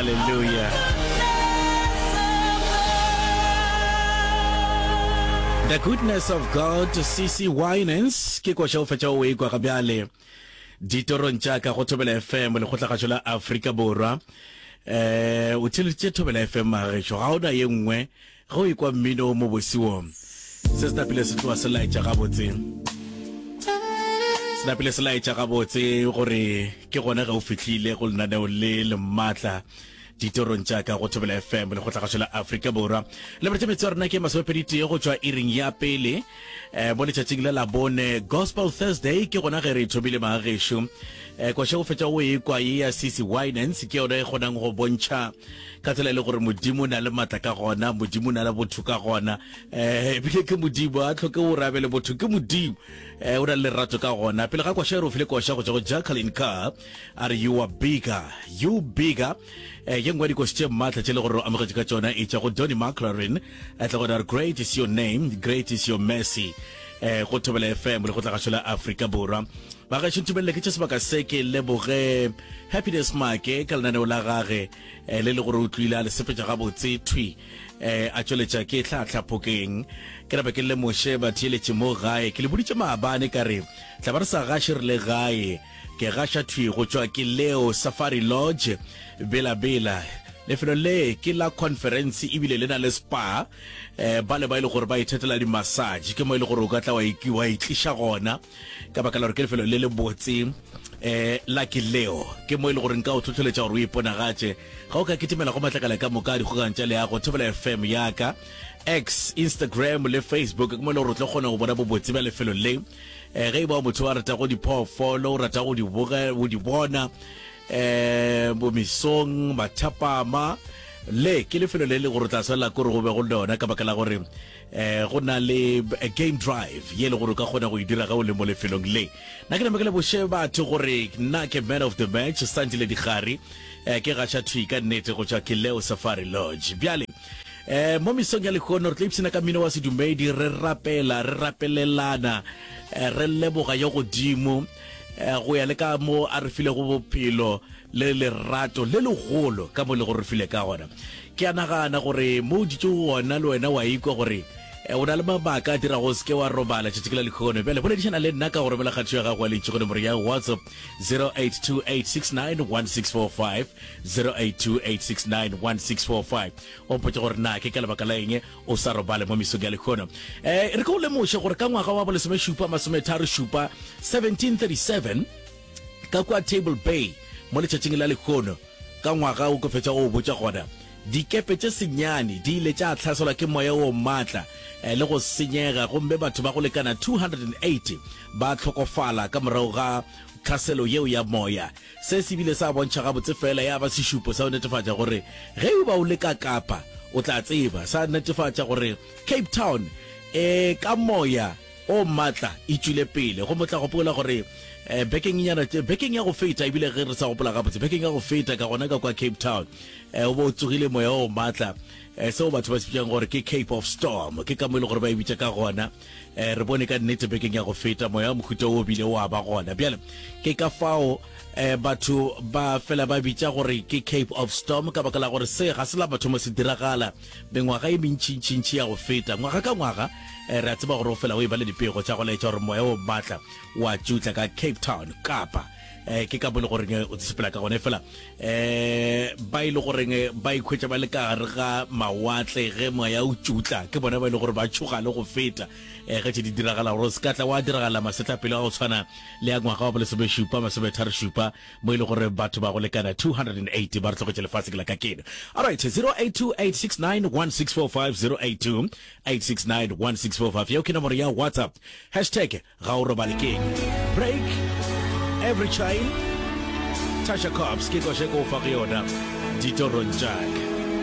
Hallelujah. The goodness of God, CC Winans, ke koša o fetša o ekwa ga bjale ditorong tša ka go Thobela FM lekgotlagašo la Afrika Borwa. Eh, o theleditše Thobela FM magešo, ga ona ye nngwe Ge o ekwa mmino o mobose wo, se se napile se tloga se laetša gabotse, se napile se laetša gabotse gore ke gona ge o fihlile go lenaneo le le maatla ditorong tša ka go Thobela FM le go la Afrika Borwa. Le boretše metse ya rena ke masomepedi tee go tšwa iring ya pele eh, mo letšatšing le la bone Gospel Thursday ke gona ge re thomile magagešo. Eh, koša o fetša o ekwa ye ya CC Winans ke yona e kgonang go bontšha ka tsela e le gore Modimo o na le matla ka gona, Modimo o na le botho ka gona, um ebile ke Modimo, a tlhoke o rabe le botho, ke Modimo, um o na le lerato ka gona. Pele ga koša e re o file koša go tšwa go Jacqueline Carr, a re you are bigger, you bigger. Um ye nngwe ya dikoši tše maatla tše le gore o amogetše ka tšona e tšwa go Donny McLaurin, a tla gona re great is your name, great is your mercy. Um go Thobela FM le go tlagašo la Afrika Borwa. Bagešo ntumelele ke tše sebaka se ke leboge Happiness Make ka lenaneo la gage eh, le le gore o tlwile a le sepetša gabotse thwi eh, a tšweletša ke tlhahla phokeng. Ke rape ke lemoše batheeletši mo gae, ke le boditše maabane ka re tla ba re sa gaše re le gae. Ke gaša thwi go tšwa ke Leo Safari Lodge, Bela Bela. Lefelo le ke la conference ebile le na le spa. Eh, ba le ba e le gore ba ithatela di-massage, ke mo e le gore o ka tla wa itliša gona. Ka baka la gore ke lefelo le le botse um la ke leo, ke mo e le gore nka o tlhotlheletša gore o iponagatše. Ga o ka kitimela go matlakala ka moka a dikgokagano tša leago, Thobela FM ya ka, X, Instagram le Facebook, ke mo e le gore o tlo kgona go bona bobotse bja lefelo le. Um ge e ba o motho wa ratago diphoofolo, o rata go di boge, go di bona um bomesong, mathapama, le ke lefelo le le gore o tla swanela ke gore go be go lona ka baka la gore eh go na le a game drive ye le gore o ka kgona go e dira ga o le mo lefelong le. Nna ke name ke leboše batho gore nna ke man of the match Sandile Dikgari, eh ke gaša thwi ka nnete go tšwa Kileo Safari Lodge. Bjale eh mo mesong ya lehono re tlo ipshina ka mmino wa sedumedi, re rapela, re rapelelana, eh, re leboga yo godimo eh, go ya le ka mo a re filego bophelo le lerato le legolo ka mo le go re file ka gona. Ke a nagana gore mo o dutšego gona le wena wa ikwa gore o na le mabaka a dirago o se ke wa robala tšatši ke la lehono. Bjale boledišana le nna ka go romela kgatišo ya gago ya lentšu go nomoro ya WhatsApp 0828691645, 0828691645. O mpotše gore na ke ka lebaka la eng o sa robale mo mesong ya lehono. E re ke go lemoše gore ka ngwaga wa bolesomešupa masometharo-šupa, 1737, ka kua Table Bay mo letšatšing la lehono, Ka ngwaga o ke fetša go o botša gona, dikepe tše senyane di ile tša hlaselwa ke moya o matla le go senyega gomme batho ba go lekana 280 ba hlokofala ka morago ga tlhaselo yeo ya moya. Se se bile sa bontšha gabotse feela ya ba sešupo sa go netefatša gore ge e ba o le ka Kapa o tla tseba, sa netefatša gore Cape Town e ka moya o matla e tšwile pele. Gomme o tla gopola gore eh, bekeng nyana tše, bekeng ya go feta, ebile ge re sa gopola gabotse, bekeng ya go feta ka gona ka kwa Cape Town, eh, o bo o tsogile moya o matla, eh, seo batho ba se bitšang gore ke Cape of Storm, ke ka mo e le gore ba e bitša ka gona. Eh, re bone ka nnete bekeng ya go feta moya wa mohuta o bile wa ba gona. Bjale ke ka fao eh, batho ba fela ba bitša gore ke Cape of Storm, ka baka la gore se ga se la mathomo se diragala mengwaga e mentšintšintši ya go feta. Ngwaga ka ngwaga eh, re a tseba gore o fela o e ba le dipego tša go laetša gore moya o matla wa tšutla ka Cape Town, Kapa. Eh, ke ka mo le goreng eh, o sepela ka gone fela eh ba ile e goreng eh, ba ikhwetša ba le ka gare ga mawatle ge moya o tšutla, ke bona ba ile e gore ba tšhoga le go feta eh ge tše di diragala, gore se ka tla wa diragala masetlapelo a go tshwana le ya ngwaga wa bolesomešupa masometharo-šupa mo e le gore batho ba go lekana 280 ba re tlogetše lefase ke la ka keno. Alright, 0828691645, 0828691645 yeo ke nomoro ya WhatsApp. Hashtag ga o robale keng. Break every chain. Tasha Cobbs ke koše ko fa go yona ditorong tšaka.